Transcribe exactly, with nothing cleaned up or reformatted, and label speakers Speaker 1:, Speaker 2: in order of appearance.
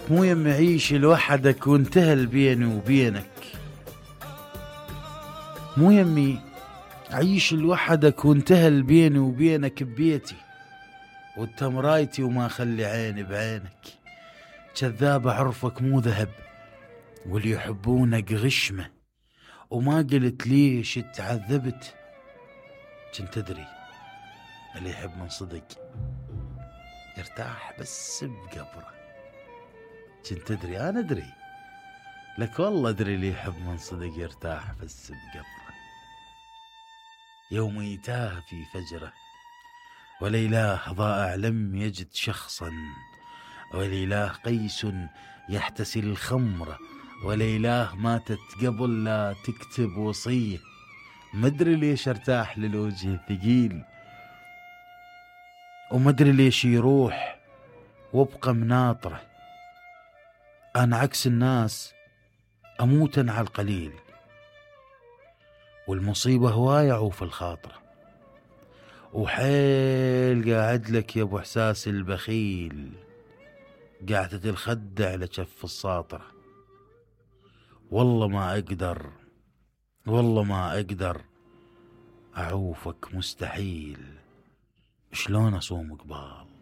Speaker 1: مو يم عيش لوحدك وانتهى بيني وبينك، مو يمي عيش لوحدك وانتهى بيني وبينك ببيتي، وانت مرايتي وما خلي عيني بعينك. كذاب عرفك مو ذهب واللي يحبونك غشمة، وما قلت ليش تعذبت. كنت تدري اللي يحب من صدق يرتاح بس بقبره. كنت تدري انا ادري لك والله ادري اللي يحب من صدق يرتاح بس بقبره. يوم يتاه في فجره وليلاه ضائع لم يجد شخصا، وليلاه قيس يحتسي الخمر، وليلاه ماتت قبل لا تكتب وصيه. مدري ليش ارتاح للوجه ثقيل، ومدري ليش يروح وابقى مناطره. انا عكس الناس اموتن على القليل، والمصيبة هواية عوف الخاطرة، وحيل قاعد لك يا ابو احساس البخيل، قاعدة الخد على كف الساطرة. والله ما اقدر والله ما اقدر اعوفك مستحيل، شلون اصوم قبال